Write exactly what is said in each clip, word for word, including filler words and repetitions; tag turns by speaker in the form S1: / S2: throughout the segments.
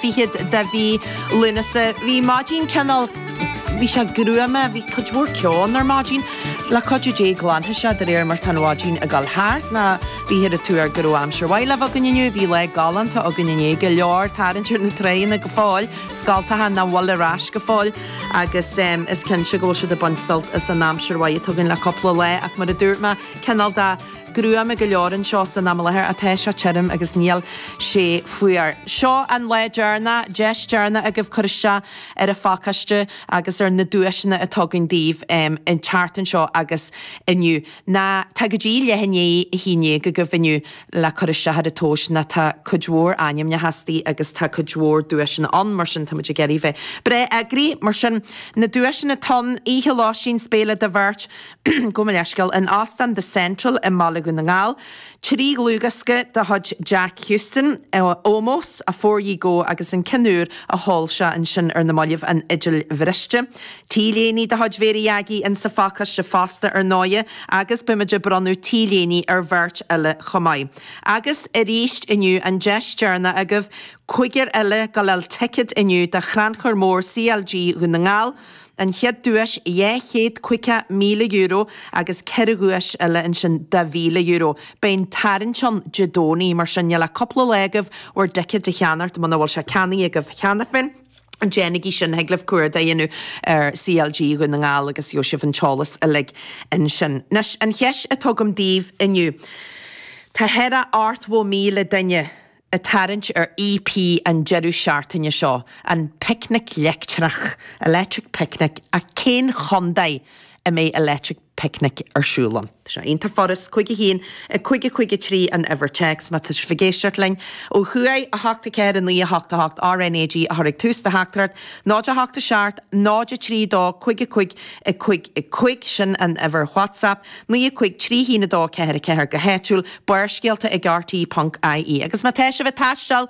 S1: fichead de mhí Lúnasa. Bhí maidin cineál bhí sé gruama, bhí cuid mhór ceo ann ar maidin. Le cuidiú Dé glanfaidh sé de réir mar tá an mhaidin ag dul thart ná bíthear ag tuar go raibh aimsir mhaith le bheith againn inniu, bhí lá galánta againn inné, go leor tarraingt ar na tráigheanna go fóill, scoltacha nach bhfuil ar ais go fóill agus is cinnte go bhfuil siad ag baint sult as an aimsir mhaith atá againn le cúpla lá ach mar a dúirt mé, cineál de gruama go leor anseo san am i láthair ach tá sé tirim agus níl sé fuar. Seo an lá deireanach, deis deireanach agaibh cur isteach ar an phacáiste agus ar na duaiseanna atá againn daoibh um, an tseachtain seo agus inniu. Ná tá go dtí leath i ndiaidh a haon déag agaibh inniu le cur isteach ar an tomhas ná tá cuid mhór ainmneacha istigh agus tá cuid mhór duaiseanna ann mar sin táimid ag iarraidh bheith breá eagraithe mar sin na duaiseanna atá ann oíche lóistín is béile do bheirt gabh mo leithscéal in Óstán The Central i mBaile Dhún na nGall. Trí dhlúthdhiosca de chuid Jack Houston, Ómós, Afore Ye Go agus an ceann úr a sheol sé ansin ar na mallaibh an Fhidil Bhriste. T-léine de chuid Mhéirí Aggie in sa phacáiste fosta ar ndóigh agus beimid ag bronnadh T-léine ar bheirt eile chomh maith. Agus arís inniu an deis deireanach agaibh cúigear eile go bhfuil ticéad inniu do Chrannchur Mór CLG Dhún na nGall, An chéad duais dhá chéad caoga míle euro agus ceithre dhuais eile ansin de mhíle euro. Beidh an tarraingt ann Dé Domhnaigh, mar sin níl ach cúpla lá agaibh bhur dticéid a cheannacht muna bhfuil sé ceannaithe agaibh cheana féin. Déanaigí sin thig libh cuardach a dhéanamh ar CLG Dhún na nGall agus gheobhaidh sibh an t-eolas uilig ansin. Anois, an cheist atá agam daoibh inniu. Tá thar a ochtó míle duine ag tarraingt ar EP an deireadh seachtaine seo, an Picnic Leictreach, Electric Picnic, ach cén chontae a mbeidh Electric Picnic ar siúl ann? Tá sé iontach furast, cúig a haon, a cúig a cúig a trí an uimhir téacs má tá sibh ag éisteacht linn ó thuaidh, a hocht a ceathair a naoi a hocht a hocht RnaG a chur ag tús do theachtaireacht, náid a hocht a seacht, náid a trí dó, cúig a cúig a cúig a cúig, sin an uimhir WhatsApp, naoi a cúig trí haon a dó ceathair a ceathair go háitiúil, Barrscéalta ag RTÉ ponc IE. Agus má tá sibh ag taisteal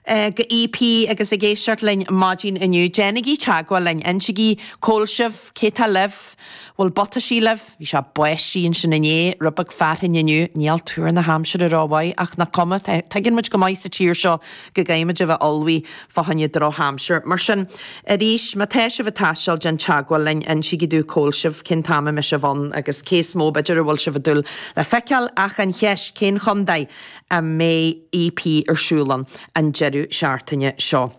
S1: go EP agus ag éisteacht linn maidin inniu, déanaigí teagmháil linn, insígí cá bhfuil sibh, cé tá libh, bhfuil butaisí libh, bhí sé báistí ansin inné, rud beag fearthainn inniu, níl tuar na haimsire rómhaith ach nach cuma, tuigeann muid go maith sa tír seo go gcaithfimid a bheith ullmhaithe fá choinne drochaimsir. Mar sin, arís, má tá sibh ag taisteal, déan teagmháil linn, insígí dúinn cá bhfuil sibh, cén t-am a mbeidh sibh ann agus cé is mó b'fhéidir a bhfuil sibh ag dúil le feiceáil ach an cheist, cén chontae a mbeidh EP ar siúl ann an deireadh seachtaine seo?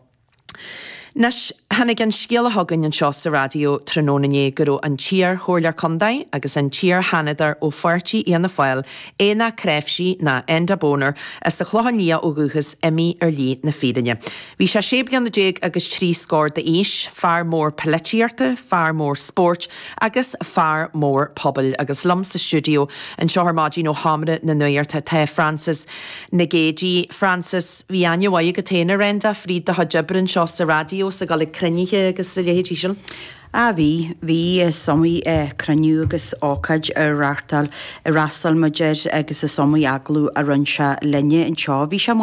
S1: Anois, tháinig an scéala chugainn anseo sa raidió tráthnóna inné go raibh an t-iar-chomhairleoir contae agus an t-iar-sheanadóir ó pháirtí Fhianna Fáil, Éanna Cnáimhsí ná Enda Boner, as an Chlochán Liath ó dhúchas, imithe ar shlí na fírinne. Bhí sé sé bliana déag agus trí scór d'aois, fear mór polaitíochta, fear mór spóirt agus fear mór pobail. Agus liom sa stiúideo anseo ar maidin ó Sheomra na Nuachta tá Frances Nic Géadaigh. Frances, bhí aithne mhaith agat féin ar Enda fríd do chuid oibre anseo sa raidió, is ag dul ag cruinnithe agus a leithéidí sin.
S2: Ah bhí, bhí is iomaí cruinniú agus ócáid ar reáchtáil, ar fhreastail muid air agus is iomaí agallamh a rinne sé linne anseo. Bhí sé